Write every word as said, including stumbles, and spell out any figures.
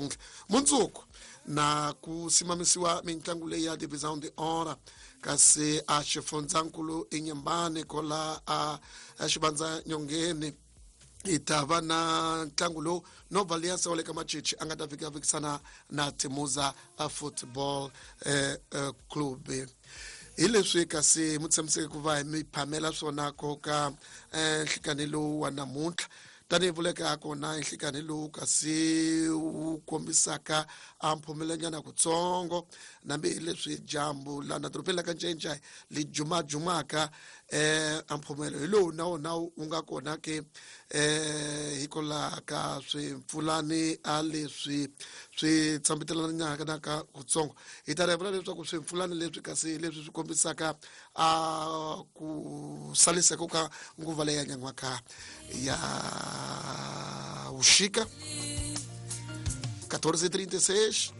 namuntlha mundzuku na ku simamisiwa mitlangu leyi ya Divisão de Honra kasi a xifundzankulu eNyembane kola a xivandza nyongeni hi ta va na ntlangu lowu Nova Aliança wa le ka Machichi a nga ta fika fikisana na Timuza Football eh, eh, Club. Hi leswi kasi mu tshamiseke ku va hi mi phamela swona koka eh, nhlikani lowu wa namuntlha tanihi vuleka ha kona nhlikani lowu kasi wu kombisaka a mphumelanyana kutsongo nambi hi leswi dyambu lana dorobeni la ka Ncencai li jumajumaka eh a mphumelo hi lowu na wona wu nga kona ke eh hikwalaho ka swimpfulani a leswi swi tshambitelanaka kutsongo. Hi ta vula leswaku swimpfulani leswi kasi leswi swi kombisaka a ku saliseka ka nguva leyi ya nyan'waka ya vuxika quatorze e trinta e seis.